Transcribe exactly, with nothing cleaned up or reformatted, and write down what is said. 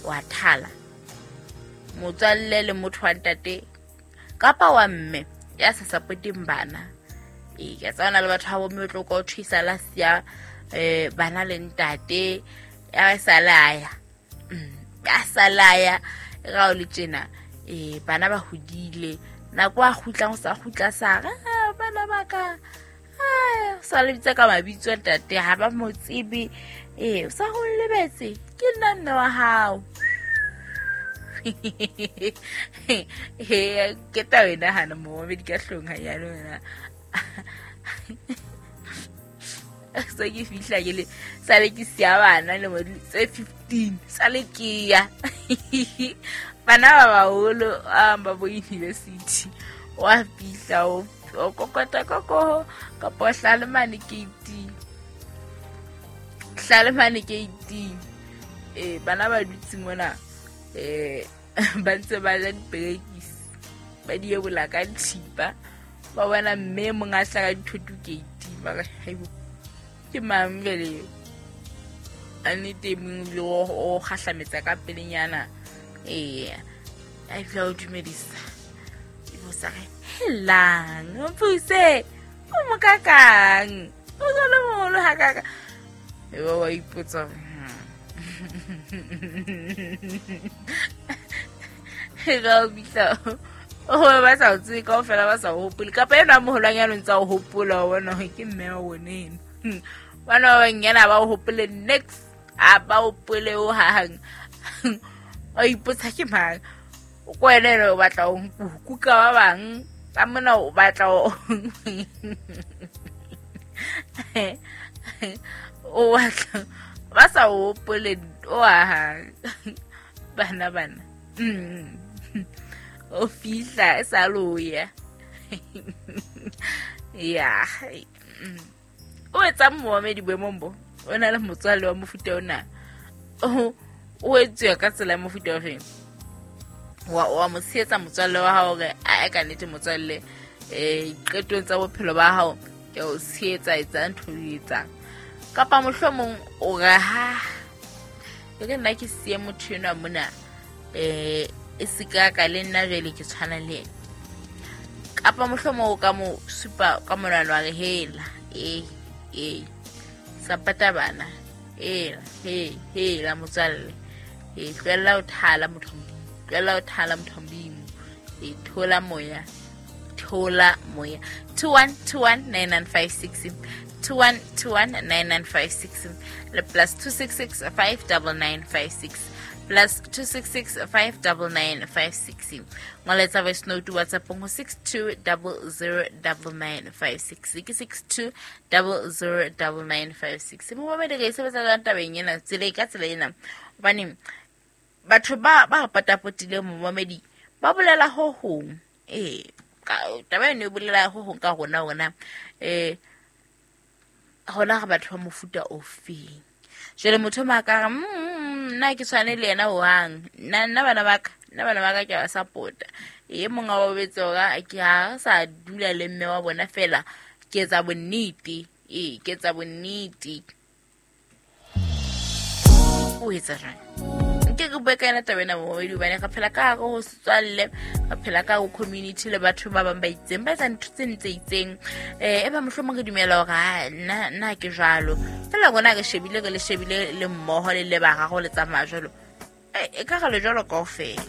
Wa thala motswalle le motho wa ntate kapa wa mme ya sa supporteng bana. Ee, ke tsana le batho ba bomme tlo ka o thusa la siya eh bana le ntate ya sa laya. Ya sa laya ga o le tjena eh bana ba hodile nako a kgutlang o sa kgutla sa re bana ba ka ah sa le bitsa ka mabitso ntate ha ba mo tsebe eh o sa ho lebetse ke nna mme wa hao. He ke taba ena hana mo be di ka hlong ha ya lona. So ke fihla ke le sale ke siya bana le mo tse fifteen sale ke ya bana ba baholo ba bo university wa fihla o kokota koko kapa hlale mane ke eighteen hlale mane ke eighteen eh bana ba dutse mona eh ba ntse ba ja diperekisi ba di ebola ka thipa ba bona mme mong a hlaka dithoto ke eighteen ba re haibo ke mang vele a nnete mong le o kgahlametsa ka pelenyana eh a fihla o dumedisa e bo sa re helang mpuse o mokakang o jalo moholo ha kaka e ba wa ipotsa ga o bitla o ba sa o tsebe kaofela ba sa o hopole kapa ena moholwanyana o ntsa o hopola o bona hore ke mme wa bone eno. Bana ba banyana ba o hopole next a ba hopole o hang o ipotsa ke mang o ko wena ena o batla ho kuka ba bang ka mona o batla o o batla ba sa o hopole o hang bana bana o fihla e sa loya ya o etsa momedi boemong bo o na le motswalle wa mofuta ona o o etsuwa ka tsela ya mofuta o feng wa wa mo tshehetsa motswalle wa hao hore a ka nnete motswalle eh qetong tsa bophelo ba hao ke o tshehetsa etsa ntho e etsang kapa mohlomong o re ha e re nna ke siye motho enwa mona eh e seka ka le nna jwale ke tshwana le yena kapa mohlomong o ka mo supa ka monwana wa re hela eh eh sapata bana eh he he la motswalle eh tlohella ho thala motho tlohella ho thala motho Modimo eh thola moya thola moya two one two one nine nine five six two one two one nine nine five six le plus two six six five nine nine five six plus two six six five nine nine five six ngoletsa voice note WhatsApp go six two zero zero nine nine five six ke six two zero zero nine nine five six mo ba re sebetsa ka tabeng ena tsela ka tsela ena hobane batho ba ba patapotileng momamedi ba bolela ho hong eh taba eno e bolela ho hong ka rona rona eh hona re batho ba mofuta ofeng jwale motho ma ka nna ke tshwane le yena hohang nna nna bana ba ka nna bana ba ka ke ba support-a e mong wa bobetse hore ke ha sa dula le mme wa bona fela ke etsa bonnete ee ke etsa bonnete o etsa jwang nke ke bue ka yena taba ena momamedi hobane re phela ka hare ho setswalle re phela ka ho community le batho ba bang ba itseng ba etsang ntho tse ntse itseng eh e ba mohlomong re dumela hore ha nna nna ke jwalo fela rona re shebile re le shebile le mmoho le le bararo le tsamaya jwalo e ka re le jwalo kaofela.